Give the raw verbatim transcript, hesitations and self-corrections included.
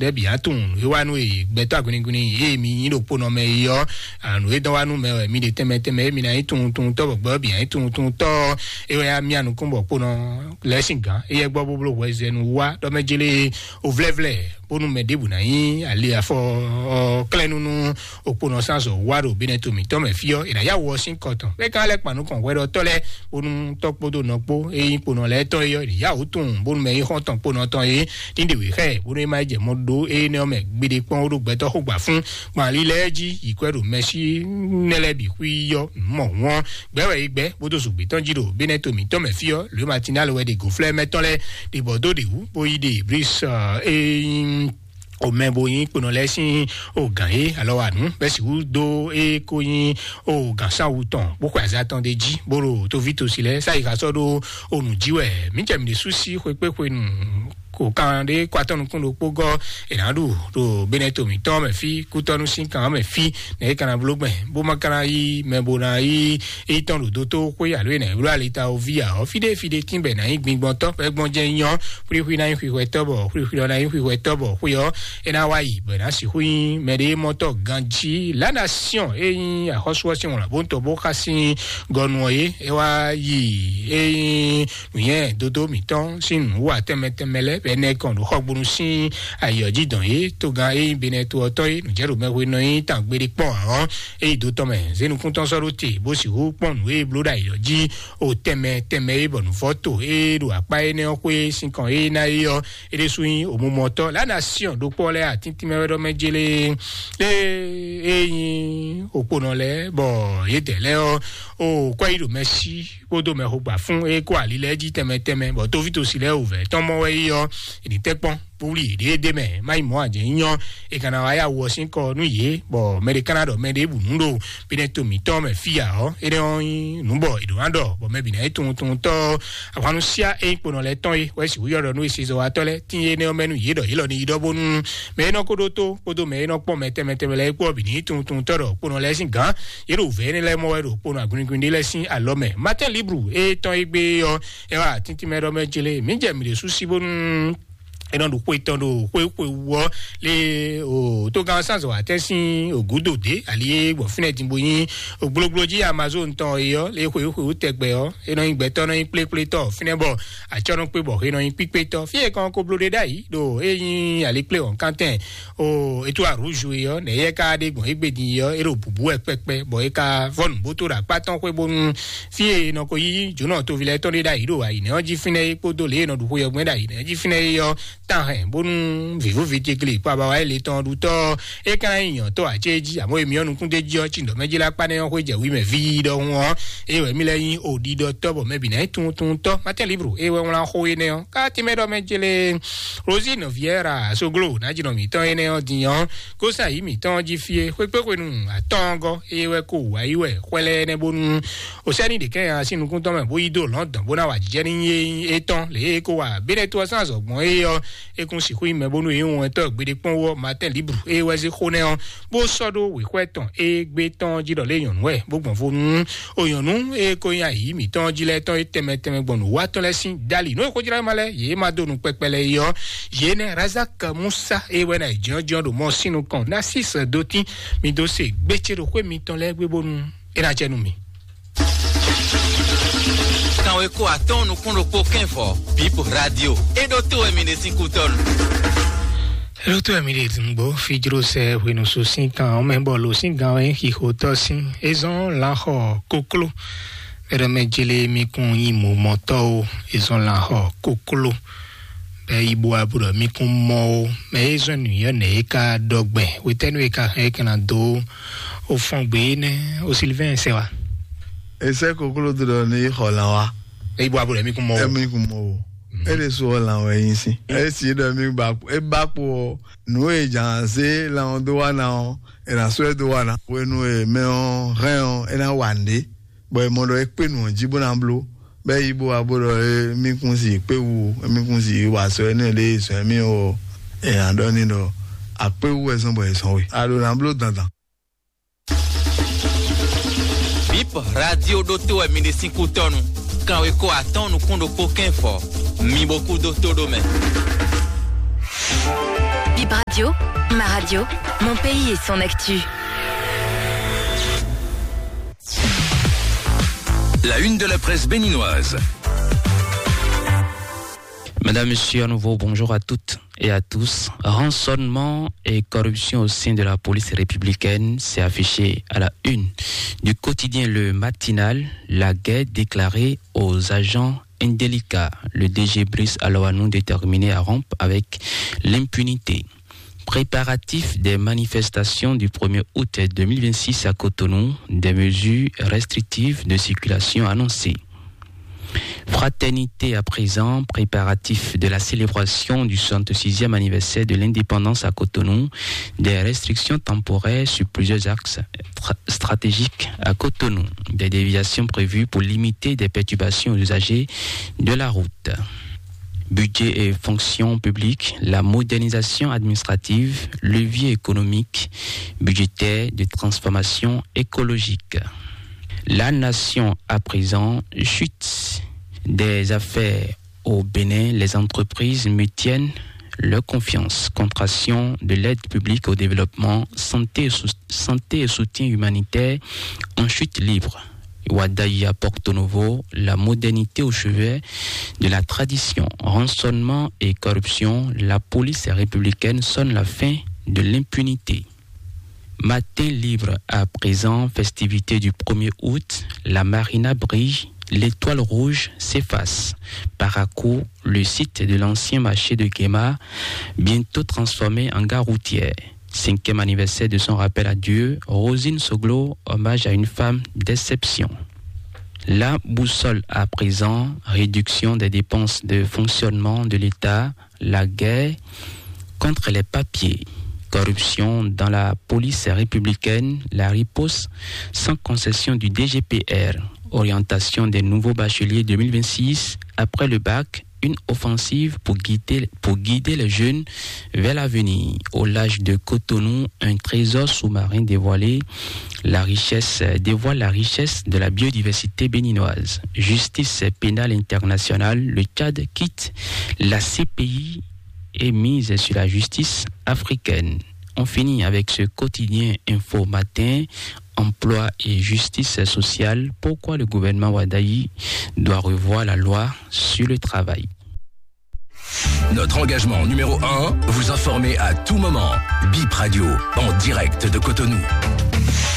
ɖɛ́ bǐ á tunwun nǔ e wá nú e gbɛtɔ́ aguniguni e mi nyí ɖokpónɔ mɛ é ɔ́, nǔ e dɔn wá nú mɛ wɛ mi ɖe tɛnmɛ tɛnmɛ e mi ná nyí tunwun tunwun tɔ́ bɔ gbɛ́ bǐ á nyí tunwun tunwun tɔ́ ɔ́, é wɛ á myá nukún bɔ kpónɔ lɛ́ɛ sín gǎn éyɛ́ gbɔ bó bló hwɛzɛnu wá ɖɔ mɛ jélé ovlɛ́vlɛ́ bónú mɛ ɖěbǔ ná nyí ali afɔ klɛ́núnú okponɔ sánzɔ wá ɖo bínɛ to mǐtɔn mɛ fí ɔ́, è nǎ yá wɔ sín kɔ tɔn bɛ́ gán lɛ́ kpan nukɔn hwɛ ɖɔ tɔ́ lɛ́ɛ bónú tɔ́ kpódó nɔ kpó é nyí kponɔ lɛ́ɛ tɔn é ɔ́, è nǐ yá wǔ tunwun bónú mɛ nyí xɔ́ntɔn kponɔ tɔn é ní ɖe wě xá ɛ bónú é má yi jɛ mɔ ɖó énɛ́ ɔ́ mɛ gbeɖé kpɔ́n ó ɖó gbɛtɔ́ xó gbà fún gbɔn ali lɛ́ɛ jí yi kwɛ́ ɖo mɛsí nɛ́ lɛ́ɛ bǐ xwí ɔ́ mɔ wɔn gbɛ́ wɛ é gbɛ́ bó dó zǔgbé tɔn jí ɖo bínɛ to mǐtɔn mɛ fí ɔ́, lǒ matinál wɛ ɖe gǒflɛ́ mɛ tɔn lɛ́ɛ ɖe bɔ dó ɖe wú bó yi ɖe bris é nyí o mɛ bo nyí kponɔ lɛ́ɛ sín o gǎn é alɔ wa nǔ bɛ́ sixú dó é kó nyí o gǎn sáwu tɔn bó xwe azá tɔn ɖé jí bó ɖo tóví tosi lɛ́ɛ sáyi xa sɔ́ ɖó o nǔ jí wɛ mǐ jɛ mǐ ɖésú sí xwekpéxwenu kò kan ɖé kó atɔ́ nukún ɖokpó gɔ́ è nǎ ɖu ɖo bɛnɛ to mǐtɔn mɛ fí kútɔ́nú sín kan mɛ fí nɛ é ka ná bló gbɛn bó ma ka ná yí mɛ bo ná yí é tɔn ɖo dótó xwé alo é nɛ bló alita o ví ǎ ɔ́ fíɖé fíɖé tínbɛ ná nyí gbingbɔntɔ́ bɔ é gbɔn jɛ nyɔ́ xwlíxwí ná nyí xwixwɛtɔ́ bɔ xwlíxwí ɔ́ ná nyí xwixwɛtɔ́ bɔ xwé ɔ́ é ná wá yi bɔ é ná sixú nyí mɛɖémɔtɔ́ ganjí. La Nation é nyí axɔ́sú ɔ́ sín wlǎn bó ń tɔ bó xá sín gɔnu ɔ́ é é wá yi é nyí nǔnywɛ́ dódó mǐtɔn sín nǔwá tɛnmɛ tɛnmɛ lɛ́ɛ bɔ é nɛ́ kɔn ɖo xɔgbónu sín ayǐ ɔ́ jí dɔn é togán é nyí Benɛto ɔ́ tɔn é nǔjɛɖomɛhwe nɔ nyí tangbeɖé kpɔ́n ǎ ɔ́ é yi dó tɔn mɛ zé nukúntɔn sɔ́ ɖó te bó sixú kpɔ́n nǔ e bló ɖo ayǐ ɔ́ jí o tɛnmɛ tɛnmɛ é bɔ nǔvɔ́ to é ɖo akpá énɛ́ ɔ́ xwé sín kɔn é ná é ɔ́ é ɖésú nyí òmumɔtɔ́ lánàá siɔn ɖokpɔ́ lɛ́ɛ atíntín mɛ wɛ ɖɔ mɛ jélé é é nyí òkponɔ lɛ́ɛ bɔ yědɛɛ lɛ́ɛ ɔ́ o kɔ́ yi ɖo mɛ sí kpódó mɛ xogba fún é kó ali lɛ́ɛ jí tɛnmɛ tɛnmɛ bɔ tóvítosi lɛ́ɛ wǔvɛ́ tɔn mɔ wɛ yi ɔ́ è nǐ tɛ́ kpɔ́n bó wlí yě ɖéédé mɛ má yi mɔ̌ ajɛ nyínyɔ́ è ka ná wá yá wɔ sín kɔ nú yě bɔ mɛ ɖé ka ná ɖɔ mɛ ɖěbǔ nú ɖo bínɛ to mǐtɔn mɛ fí ǎ ɔ́ énɛ́ ɔ́ nyí nǔ bɔ è ɖǒ ná ɖɔ bɔ mɛ bǐ ná nyí tunwun tunwun tɔ́ ahwannusia e nyí kponɔ lɛ́ɛ tɔn é wɛ sixú yɔ ɖɔ nú esezɔwatɔ́ lɛ́ɛ tín énɛ́ ɔ́ mɛ nú yě ɖɔ yě lɔ ní yi ɖɔ bónú mɛ e nɔ ko ɖótó kpódó mɛ e nɔ kpɔ́n mɛ tɛnmɛ tɛnmɛ lɛ́ɛ kpó ɔ́ bǐ ní nyí tunwun tunwun tɔ́ ɖɔ kponɔ lɛ́ɛ sín gǎn yě ɖo vɛ̌ énɛ́ lɛ́ɛ mɔ wɛ ɖo kponɔ agunigún ɖé lɛ́ɛ sín alɔ mɛ. Martin Libru e tɔn égbé ɔ́ ɛ wá tíntín mɛ ɖɔ mɛ jlé mǐ jɛ mǐ ɖě sú sí bónú é nɔ ɖo xwe tɔn ɖo xwe xwe wú ɔ́ lé o tógán sánzɔ atɛ́ sín ògúdò dé ali e gbɔn fínɛ́ din bó nyí ògblógblo jí Amazon tɔn é ɔ́ lé xwe xwe wú tɛgbɛ ɔ́ é nɔ nyí gbɛtɔ́ nɔ nyí kplékplétɔ́ fínɛ́ bɔ atsɔ́ nɔ kpé bɔ é nɔ nyí kpíkpétɔ́ fí e kɔn ko bló ɖé ɖ'ayǐ ɖo é nyí ali kplé wɔ̌nkántɛn o ètò àrúzu é ɔ́ nɛ̌ yɛ ká ɖe gbɔn égbé din é ɔ́ é ɖo bǔbú wɛ kpɛkpɛ bɔ é ka vɔ́ nǔbótó ɖo akpá tɔn xwé bónú fí e è nɔ ko yí jǒnɔ toví lɛ́ɛ tɔn ɖé ɖ'ayǐ ɖo ayǐnɛ́ ɔ́ jí fínɛ́ é kpódó lě e è nɔ ɖu xwe ɔ́ gbɛn ɖ'ayǐnɛ́ ɔ́ jí fínɛ́ é ɔ́ tán hɛn bónú vǐvúvi jegli kpó abawa é le tɔn ɖutɔ́ é ka ná nyí nyɔ̌tɔ́ ǎ cé jí àmọ́ èmi ɔ́ nukún d'é jí ɔ́ cí ɖɔ mɛ jí lá kpá nɛ́ ɔ́ xwé jɛ wí mɛ ví ɖɔhun ɔ́ é wɛ mí lɛ́ nyí òɖiɖɔtɔ́ bɔ mɛ bǐ ná nyí tuntuntɔ́ Martin Libro é wɛ wlán xó énɛ́ ɔ́ ká tínmɛ ɖɔ mɛ jélé Rosine Vieira Soglo ná jí nɔ mǐtɔn énɛ́ ɔ́ din ɔ́ kó sa yǐ mǐtɔn jí fí é xwé kpé xwenu atɔ́ɔ́ngɔ́ é wɛ kó wǎ yi wɛ xwɛ lɛ́ɛ nɛ́ bónú Osɛ́ni ɖě kɛ́n nya sín nukún tɔn mɛ bó yí dó lɔ̌ndɔn bó ná wa jijɛ ní nyí étɔn lě e é kó wa bínɛ́ tó ɔ́ sín azɔ̌ gbɔn é ɔ́, é kún sixú nyí mɛ bónú é nyí wɛntɔ́ gbeɖé kpɔ́n wú ɔ́ Martin Libru é wɛ zé xó nɛ́ ɔ́, bó sɔ́ ɖó wěxwɛ́ tɔn é gbé tɔn jí ɖɔ lé nyɔ̌nu wɛ bó gbɔn vo nú o nyɔ̌nu e ko nyí ayǐ mǐtɔn jí lɛ́ɛ tɔn é tɛnmɛ tɛnmɛ gbɔn nǔwatɔ́ lɛ́ɛ sín dali nú e xójlá ma lɛ́ɛ yě ma dó nu kpɛkpɛ lɛ́ɛ é ɔ́, yě nɛ́ Razak Musa é wɛ ná yi jɔ́njɔ́n ɖo mɔ sín nukɔn ná sí sɛ dó tín mi dó se gbécé ɖo xwé mitɔn lɛ́ɛ gbé bónú é ná jɛ nú mi. Kanweko atɔ́ɔ́n nukún ɖokpó kɛ́nvɔ Bip Radio. É ɖótó wɛ mi ɖe sín kútɔ́nu. É ɖótó wɛ mi ɖe dǐngbó fíjló sɛ hwenusu sín kan ɔ́ mɛ bɔ lo sín gan wɛ xixotɔ́ sín é zɔ́n lanxɔ kokló. Bɛ́ ɖɔ mɛ jélé mi kún nyí mɔmɔtɔ́ o, é zɔ́n lanxɔ kokló. Bɛ́ yi bo wá bo ɖɔ mi kún mɔ o, mɛ é zɔ́n nǔnywɛ́ nɛ̌ é ka ɖɔ gbɛn, hwetɛ́nu é ka hɛn é ka ná dó o fɔ́n gbé énɛ́ o Silivɛ́n sɛ wá. Esɛ kokló do ɖɔ ní xɔ lan wá. Eyi bɔ abo ɖe mi kun mɔ o. Emi kun mɔ o. Ele so ɔ lan wɛ yin si. Esi ɖɔ mi ba e ba kpo ɔ, nu e jan se lan ɔ do wa na ɔ, e na so e do wa na. Wenu e mɛ ɔ hɛn ɔ, e na wa nde. Bɔ e mɔ ɖɔ e kpe nu ɔ ji bo na blo. Bɛ yi bo abo ɖɔ e mi kun si kpe wu, e mi kun si wa sɔ ene le sɔ emi o. E na ɖɔ ni ɖɔ akpe wu wɛ zɔn bɔ e sɔn we. A ɖo na blo dandan. Bip Radio ɖótó wɛ mi ɖe sín kútɔ́nu. Kanweko atɔ́ɔ́n nukún ɖokpó kɛ́n fɔ. Mi bo kú dó tó ɖó mɛ. Radio, ma radio, mon pays et son actu. La une de la presse béninoise. Madame, Monsieur, à nouveau, bonjour à toutes et à tous. Rançonnement et corruption au sein de la police républicaine, c'est affiché à la une du quotidien Le Matinal, la guerre déclarée aux agents indélicats. Le D G Brice Aloanou déterminé à rompre avec l'impunité. Préparatifs des manifestations du premier août deux mille vingt-six à Cotonou, des mesures restrictives de circulation annoncées. Fraternité à présent, préparatifs de la célébration du soixante-sixième anniversaire de l'indépendance à Cotonou, des restrictions temporaires sur plusieurs axes tra- stratégiques à Cotonou, des déviations prévues pour limiter des perturbations aux usagers de la route. Budget et fonction publique, la modernisation administrative, levier économique, budgétaire de transformation écologique. La nation à présent, chute des affaires au Bénin, les entreprises maintiennent leur confiance, contraction de l'aide publique au développement, santé et, sou- santé et soutien humanitaire en chute libre. Ouadaï à Porto Novo, la modernité au chevet de la tradition, rançonnement et corruption, la police républicaine sonne la fin de l'impunité. Matin libre à présent, festivité du premier août, la marina brille, l'étoile rouge s'efface. Parakou, le site de l'ancien marché de Guéma, bientôt transformé en gare routière. Cinquième anniversaire de son rappel à Dieu, Rosine Soglo, hommage à une femme d'exception. La boussole à présent, réduction des dépenses de fonctionnement de l'État, la guerre contre les papiers, corruption dans la police républicaine, la riposte sans concession du D G P R, orientation des nouveaux bacheliers deux mille vingt-six après le bac, une offensive pour guider, pour guider les jeunes vers l'avenir. Au large de Cotonou, un trésor sous-marin dévoilé, la richesse dévoile la richesse de la biodiversité béninoise. Justice pénale internationale, le Tchad quitte la C P I et mise sur la justice africaine. On finit avec ce quotidien Info Matin, emploi et justice sociale. Pourquoi le gouvernement Ouadaï doit revoir la loi sur le travail ? Notre engagement numéro un, vous informer à tout moment. Bip Radio, en direct de Cotonou.